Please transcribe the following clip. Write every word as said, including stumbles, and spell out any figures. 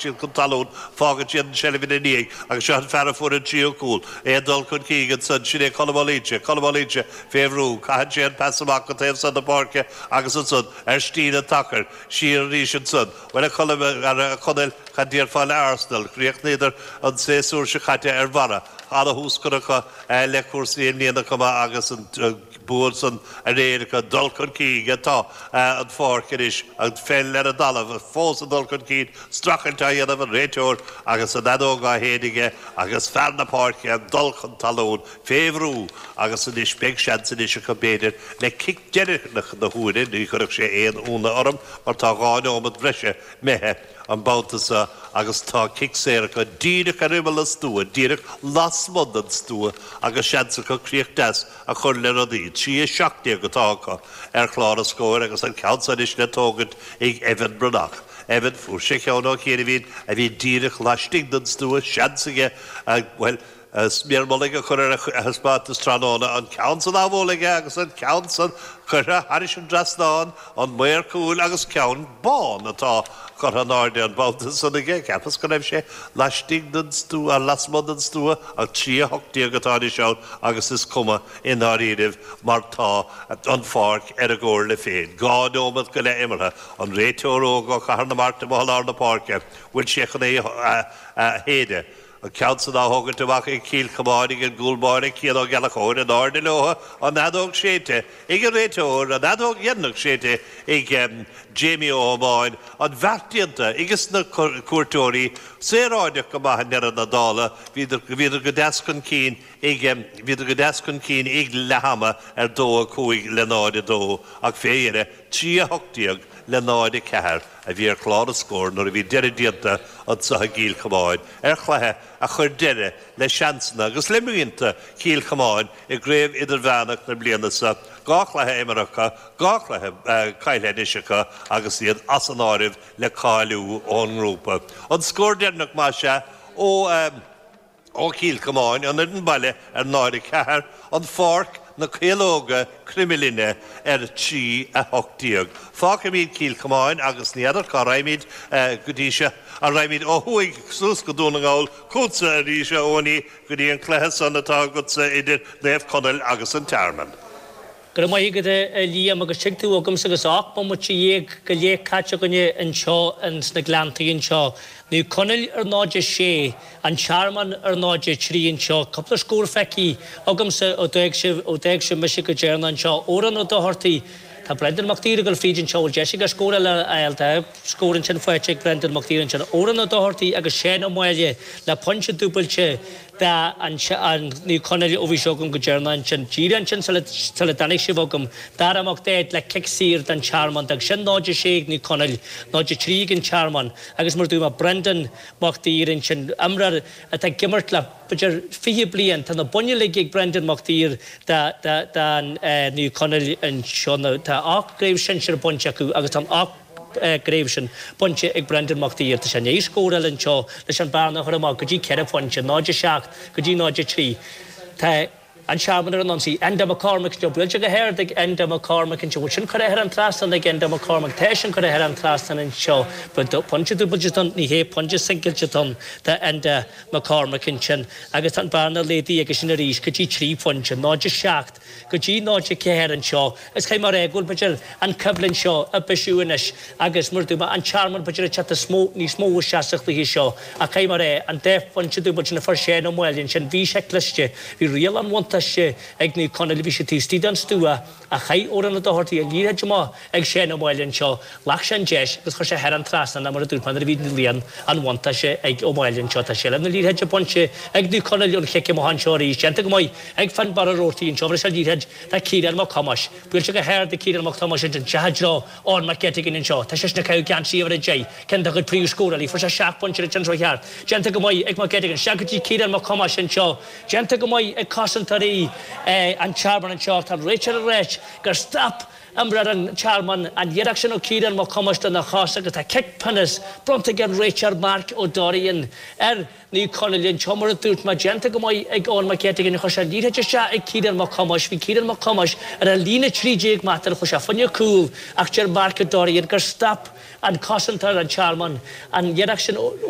Tagann siad chun talún, fágann siad an seilbh ina ndiaidh agus seo an fear a fuair an tríú cúl. É ag dul chun cinn ansan, sin é Colm Ó Loingsigh, Colm Ó Loingsigh fé bhrú, caitheann sé an pas amach go taobh san na páirce agus ansan ar stíl an tsacair, siar arís ansan. Bhuel a Cholm, a Chonaill, cad déarfá le Arsenal? Chríochnaíodar an séasúr seo caite ar bharra. Ana-thús curtha acu le cúrsaí i mbliana chomh maith agus an bua san aréir acu. Dul chun cinn atá an pháirc anois, an pheil ar an dtalamh fós ag dul chun cinn, streachailt á dhéanamh an réiteoir agus an fheadóg á shéideadh aige agus fear na páirce ag dul chun talún fé bhrú agus anois beidh seans anois acu b'fhéidir le cic deireanach na huaire, ní chuirfeadh sé aon ionadh orm mar tá dhá neomat bhreise imithe an babhta seo agus tá cic saor acu díreach ar imeall an stua, díreach lasmuigh den stua agus seans acu críoch deas a chur le rudaí. Trí a seacht déag atá acu ar chlár an scóir agus an ceann seo anois le tógaint ag Evan Breathnach. Evan, fuair sé ceann ó chianaibhín a bhí díreach laistigh den stua, seans aige, bhuel, sméar mullaigh a chur ar a thaispeántas tráthnóna, an ceann san á bhualadh aige agus an ceann san curtha thairis an dtrasnán, an maor cúil agus ceann bán atá curtha in airde an babhta san aige. Cheapas go raibh sé laistigh den stua, lasmuigh den stua, ach trí a hocht déag atá anois ann agus is cuma i ndáiríribh mar tá an pháirc ar a gcomhairle féin. Dhá neomat go leith imeartha. An réiteoir óg ó Chathair na Mart amuigh i lár na páirce, bhfuil sé chun é a shéideadh? An ceann san á thógaint amach ag Cill Chomáin ag an gcúl báire Cian Ó Gallchóir, in airde leo, an fheadóg séidte ag an réiteoir, an fheadóg dheireanach séidte ag Jamie Ó hAmáin, an bheart déanta ages na cuairteoirí, saoráideach go maith i ndeireadh na dála, bhíodar bhíodar go deas chun cinn ag bhíodar go deas chun cinn ag leath ama ar dó a cúig le náid a dó ach fé dheireadh trí a hocht déag le náid a ceathair a bhí ar chlár an scóir nuair a bhí deireadh déanta anseo i gCill Chomáin ar chluiche a chuir deireadh le seansanna agus le mianta Chill Chomáin i gCraobh Idirmheánach na bliana seo. Dhá chluiche imeartha acu, dhá chluiche caillte anois acu agus iad as an áireamh le cáiliú ón ngrúpa. An scór deireanach, más ea, ó. Ó Chill Chomáin, an fhoireann baile ar náid a ceathair, an Pháirc, na Caológa, Croimghlinne ar trí a hocht déag. Fágfaimid Cill Chomáin agus ní fheadar cá raghaimid go dtí seo, an raghaimid ó thuaidh suas go Dún na nGall chugatsa arís, a Eoiní, go dtí an cluiche san atá agatsa idir Naomh Conaill agus an Tearmann. Go raibh maith agat a Liam agus tig tú agamsa agus ocht mbomaite dhéag go leith caite againne anseo ins na Gleanntaí anseo. Naomh Conaill ar náid a sé, An Tearmann ar náid a trí anseo. Cúpla scór feicthe agamsa ó d'fhág sibh, ó d'fhág sibh mise go deireanach anseo. Odhrán Ó Dochartaigh, Tá Brendan Mac Tíre ag dul fríd anseo, bhfuil deis aige scór eile a fháil? Tá scór ansin faighte ag Brendan Mac Tíre ansin. Odhrán Ó Dochartaigh agus Seán Ó Máille le pointe dúbailte do an Naomh Conaill ó bhí seo agam go deireanach ansin. Díreach ansin sula sula dtáinig sibh agam, Dara Mac Daid le cic saor don Tearmann. D'fhág sin náid a sé ag Naomh Conaill, náid a trí ag an Tearmann agus mar a dúirt mé Brendan Mac Tíre ansin, imreoir atá ag imirt le b'fhéidir fiche bliain. Tá na boinn uilig ag Brendan Mac Tír do Naomh Conaill anseo. Tá ocht gcraobh sinsir bainte acu agus tá an ocht gcraobh sin bainte ag Brendan Mac Tír. Tá sé i ndiaidh scór eile anseo leis an bearna a chur amach go dtí ceithre phointe, náid a seacht go dtí náid a trí. Tá an Tearmann ar an ionsaí. Enda McCormick anseo, buailte go hard ag Enda McCormick anseo. Bhfuil sin curtha thar an trasnán ag Enda McCormick? Tá sin curtha thar an trasnán anseo. Pointe dúbailte atá ann, ní hé, pointe singilte atá ann do Enda McCormick ansin. Agus tá an bearna laghdaithe aige sin arís go dtí trí phointe, náid a seacht go dtí náid a ceathair anseo. Is caithfidh mé a rá go bhfuil, b'fhéidir, an choimhlint seo ag bisiú anois agus, mar a dúirt mé, an Tearmann, b'fhéidir, ag teacht níos mó isteach sa chluiche seo. Ach caithfidh mé a rá, an dá phointe dúbailte sin a fuair Shane Ó Máille ansin, bhí sé cliste. Bhí riail an bhuntáiste ag Naomh Conaill, bhí sé taobh istigh den stua ach chaith Odhrán Ó Dochartaigh an liathróid amach ag Shane Ó Máille anseo. Ghlac sé an deis agus chuir sé thar an trasnán mar a dúirt mé nuair a bhí riail an bhuntáiste ag Ó Máille anseo. Tá seilbh na liathróide bainte ag Naomh Conaill ón chic amach anseo arís. Déanta go maith ag Fionnbarra Roarty anseo. Bhris an liathróid do Ciarán Mac Thomáis. Buailte go hard ag Ciarán Mac Thomáis ansin. Isteach i dtreo Eoin McGettigan anseo. Tá seisean ag caitheamh geansaí uimhir a deich. Ceann dá chuid príomhscórálaí. Fuair sé seacht bpointe an tseachtain seo thart. Déanta go maith ag McGettigan. Isteach go dtí Ciarán Mac Thomáis anseo. Déanta go maith ag cosantóirí an Tearmainn anseo. Tá an réiteoir ag ráit gur stop imreoir an Tearmainn an iarracht sin ó Ciarán Mac Thomáis lena chos agus tá cic pionóis bronnta ag an réiteoir Mark O'Dorian ar Naomh Conaill anseo. Mar a dúirt mé, déanta go maith ag Eoin McGettigan. Chuir sé an liathróid isteach ag Ciarán Mac Thomáis. Bhí Ciarán Mac Thomáis ar an líne trí déag méadar. Chuir sé fá choinne cúl ach deir Mark O'Dorian gur stop an cosantóir an Tearmainn an iarracht sin.